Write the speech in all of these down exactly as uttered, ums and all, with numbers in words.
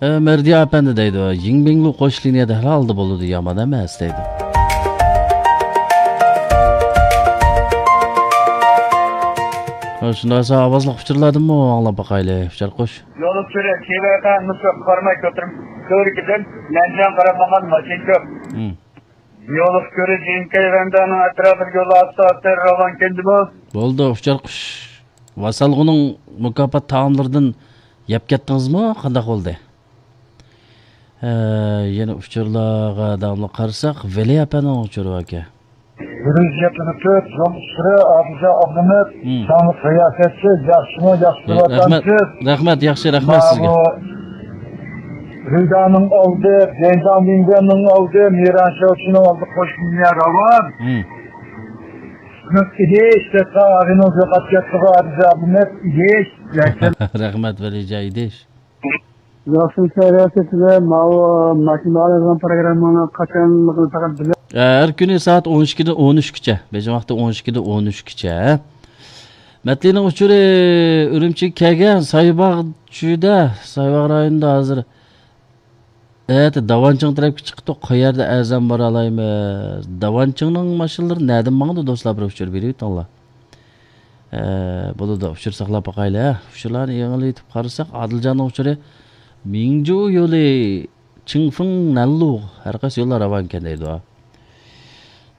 ئە، مەردىيا ئەپەندى دەيدۇ، يىڭبىڭلۇ قوش لىنىيەدە ھەل ھالدا بولىدۇ، يامان ئەمەس دەيدۇ. ھە، شۇنداق بولسا ئاۋازلىق ئۇچۇرلاردىنمۇ ئاڭلاپ باقايلى، ئۇچار قوش. يولۇق كۆرە، كېۋەكە نۇسرا قارماي كۆتۈرۈپ، كۆرۈكىدىن نەنجان قاراپ ماڭغان ماشىنا كۆپ. ھىم. يولۇق كۆرە، جىنكەي ۋەندانىڭ ئەتراپىدا يول ئاستا ئاستا راۋان كەندىمۇ؟ بولدى، ئۇچار قوش. ۋاسالغۇنىڭ مۇكاپات تائاملىرىدىن يەپ كەتتىڭىزمۇ؟ قانداق بولدى؟ ھە، يەنە ئۇچۇرلارغا داۋاملىق قارىساق، ۋەلى ئەپەندىنىڭ ئۇچۇرى باركەن. بىرىنچى يەتمىش تۆت، يول ئۇستىرى، ئادىلجان ئابلىمىت، ھىم. داڭلىق رىياسەتچى، ياخشىمۇ، ياخشى رەھمەت، ۋەتەنچى. رەھمەت، ياخشى، رەھمەت سىزگە. ماۋۇ رىدانىڭ ئالدى، جەنجاڭ بىڭبىيەننىڭ ئالدى، مىران شاۋچىنىڭ ئالدى، قوشنىيە راۋان. ھىم. ئىدىش، دەستا ئارىنىڭ يوقاپ كەتتىغۇ، ئادىلجان ئابلىمىت، ئىدىش. رەھمەت، ۋەلىجان ئىدىش. ياخشىمۇ سەھەر سىزگە، ماۋۇ ماشىنا ئالىدىغان پروگراممىنىڭ قاچانلىقىنى پەقەت بىلە. ھەر كۈنى سائەت ئون ئىككىدىن ئون ئۈچكىچە، بېيجىڭ ۋاقتى ئون ئىككىدىن ئون ئۈچكىچە. مەتلىنىڭ ئۇچۇرى ئۈرۈمچىگە كەلگەن، سايباغ چۈدە، سايباغ رايونىدا ھازىر. ئەتە داۋانچىڭ تەرەپكە چىقىپتۇ، قەيەردە ئەرزان بارالايمىز؟ داۋانچىڭنىڭ ماشىنىلىرى نەدىن ماڭىدۇ، دوستلار، بىر ئۇچۇر بېرىۋېتىڭلار. ئە، بولىدۇ، ئۇچۇر ساقلاپ باقايلى، ھە. ئۇچۇرلارنى يېڭىلىۋېتىپ قارىساق، ئادىلجاننىڭ ئۇچۇرى مىڭجۇ يولى، چىڭفېڭ، نەنلۇ، ھەر قايسى يوللار راۋان ئىكەن دەيدۇ.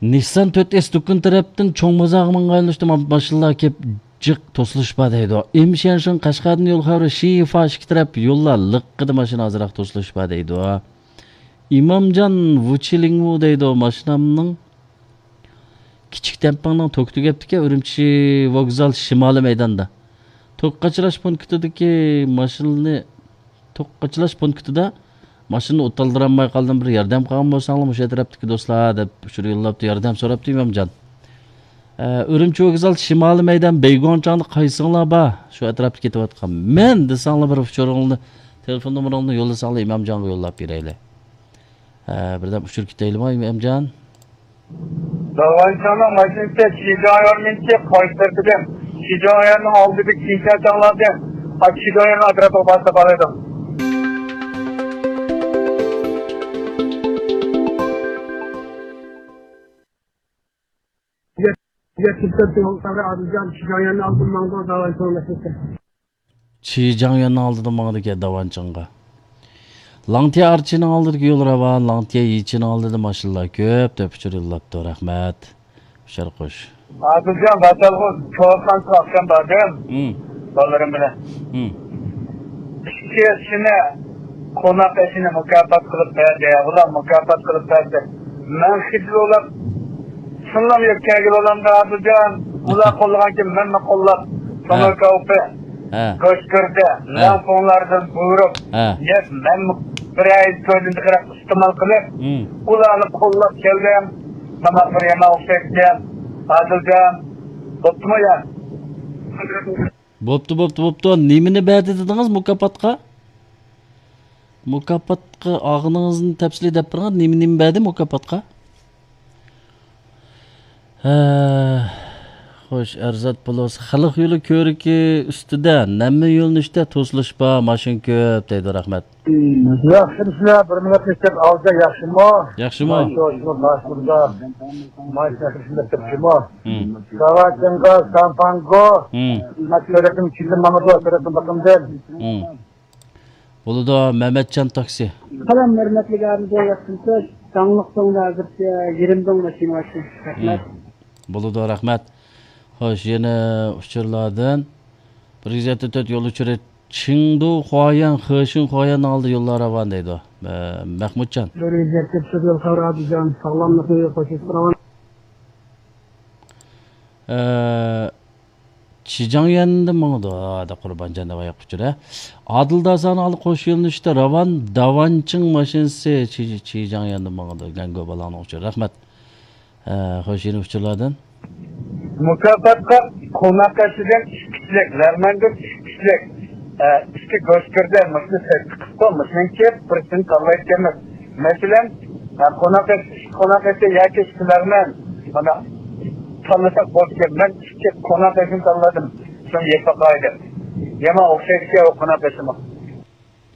نىسسان تۆت ئېس دۇكىنى تەرەپتىن چوڭ بازارغا ماڭغان يۆنىلىشتە ما-، ماشىنىلار كېلىپ جىق توسۇلۇش بار دەيدۇ. ئىمشيەنشىڭ قەشقەردىن يول خەۋىرى شىفا ئىككى تەرەپ يوللار لىققىدە ماشىنا ئازراق توسۇلۇش بار دەيدۇ. ئىمامجان ۋۇچىلىڭۋۇ دەيدۇ، ماشىنامنىڭ كىچىك دەمپىڭنىڭ توكى تۈگەپتىكەن، ئۈرۈمچى ۋوگزال شىمالىي مەيداندا. توك قاچىلاش پونكىتىدىكى ماشىنىنى، توك قاچىلاش پونكىتىدا ماشىنىنى ئوت ئالدۇرالماي قالدىم، بىر ياردەم قىلغان بولساڭلار مۇشۇ ئەتراپتىكى دوستلار، دەپ ئۇچۇر يوللاپتۇ، ياردەم سوراپتۇ ئىمامجان. ئە، ئۈرۈمچى ۋوگزال شىمالىي مەيدان بەيگوڭچاڭدا قايسىڭلار بار؟ شۇ ئەتراپتا كېتىۋاتقان. مەن دېسەڭلار بىر ئۇچۇرۇڭلارنى، تېلېفون نومۇرۇڭلارنى يوللىساڭلار ئىمامجانغا يوللاپ بېرەيلى. ھە، بىردەم ئۇچۇر كۈتەيلىما، ئەمجان؟ داۋانچىڭنىڭ ماشىنىسى شىجاڭيۈەننىڭكى قايسى تەرىپىدىن؟ شىجاڭيۈەننىڭ ئالدىدىكى كىنشا چاڭلاردىن، شىجاڭيۈەننىڭ ئەتراپىغا بارسا بارىدۇ. يەتمىش تۆت يول خەۋىرى ئادىلجان شىجاڭيۈەننىڭ ئالدىدىن ماڭىدۇ، داۋانچىڭ ماشىنىسى. چى جاڭيۈەننىڭ ئالدىدا ماڭىدىكەن داۋانچىڭغا. لاڭتيە ئارچىنىڭ ئالدىدىكى يول راۋان، لاڭتيە يىچىنىڭ ئالدىدا ماشىنىلار كۆپ، دەپ ئۇچۇر يوللاپتۇ. رەھمەت. ئۇچار قوش. ئادىلجان، ۋاتالغۇ چوقانسىغا ئاخشام باردىم. ھىم. بالىلىرىم بىلەن. ھىم. ئىككىسىنى قوناق ئېشىنى مۇكاپات قىلىپ بەردى. ئۇلار مۇكاپات قىلىپ بەردى. مەن خىجىل بولۇپ، شۇنداق يەپ كەلگىلى بولامدۇ، ئابىجان؟ ئۇلار قوللىغانكىن مەنمۇ قوللاپ، ھە. تونۇر كاۋىپى، ھە. گۆشگىردە، ھە. لەڭپۇڭلاردىن بۇيرۇپ، ھە. يەپ، مەنمۇ بىر ئاي كۆزۈمدە قاراپ ئىستېمال قىلىپ، ھىم. ئۇلارنى قوللاپ كەلدىم. مانا بىر يامان ئوخشايدىكەن، ئادىلجان. بوپتۇمۇ يا؟ بوپتۇ، بوپتۇ، بوپتۇ. نېمىنى بەردى دېدىڭىز مۇكاپاتقا؟ مۇكاپاتقا ئالغىنىڭىزنى تەپسىلىي دەپ بېرىڭ. نېمە، نېمە بەردى مۇكاپاتقا؟ ھە، خوش، ئەرزات پلۇس. خەلق يولى كۆۋرۈكى ئۈستىدە، نەممە يۆنىلىشتە توسۇلۇش بار، ماشىنا كۆپ، دەيدۇ. رەھمەت. ياخشىمۇسىلەر؟ بىر مىنۇت ئىچىدە ئالدى ياخشىمۇ؟ ياخشىمۇ؟ ماي شوشۇمۇ، باشمۇردا. ماي شەكرىسىندە تۇرۇشىمۇ؟ ھىم. ساۋاچىڭغا، سامپاڭگو. ھىم. مەن سۈرەتنىڭ ئىچىدە ماڭىدۇ، سۈرەتنىڭ بېقىمدىن. ھىم. بولىدۇ، مەمەتجان تاكسى. سالام، ھۆرمەتلىك ئابىدە، ياخشىمۇسىز؟ داڭلىق سوڭدا ھازىرچە يېرىم داڭ ماشىنا بار ئىكەن. رەھمەت. ھىم. بولىدۇ، رەھمەت. خوش، يەنە ئۇچۇرلاردىن. بىر يۈز يەتتە تۆت يول ئۇچۇرى چىڭدۇ خۇايەن، خېشىڭ خۇايەننىڭ ئالدى يوللار راۋان دەيدۇ. مە-، مەھمۇتجان. بىر يۈز يەتتە تۆت يول خەۋىرى ئابىجان، ساغلاملىقنى قوشۇپ تۇرغان. ئە، چىجاڭيۈەندە ماڭىدۇ، ھە، قۇربانجان دەپ ئاياق ئۇچۇر، ھە. ئادىل داسانىڭ ئالدى قوش يۆنىلىشتە راۋان داۋانچىڭ ماشىنىسى چى-، چىجاڭيۈەندە ماڭىدۇ. گەنگو بالاڭنىڭ ئۇچۇرى. رەھمەت. ھە، خوش، يەنە ئۇچۇرلاردىن. مۇكاپاتقا قوناق ئېشىدىن ئىككى كىشىلىك، لەرمەندىن ئىككى كىشىلىك، ئە، ئىككى گۆشگىردە مۇشۇنى سەتتە قىپتۇ، مۇشۇنىڭ كېيىپ بىرسىنى تاللايدىكەنمىز. مەسىلەن، ئە، قوناق ئېشى، قوناق ئېشى ياكى ئىككى لەرمەن، مانا، تاللىساق بولىدىكەن. مەن ئىككى قوناق ئېشىنى تاللىدىم، شۇنى يەپ باقاي دەپ. يامان ئوخشايدىكەن ئۇ قوناق ئېشىمۇ.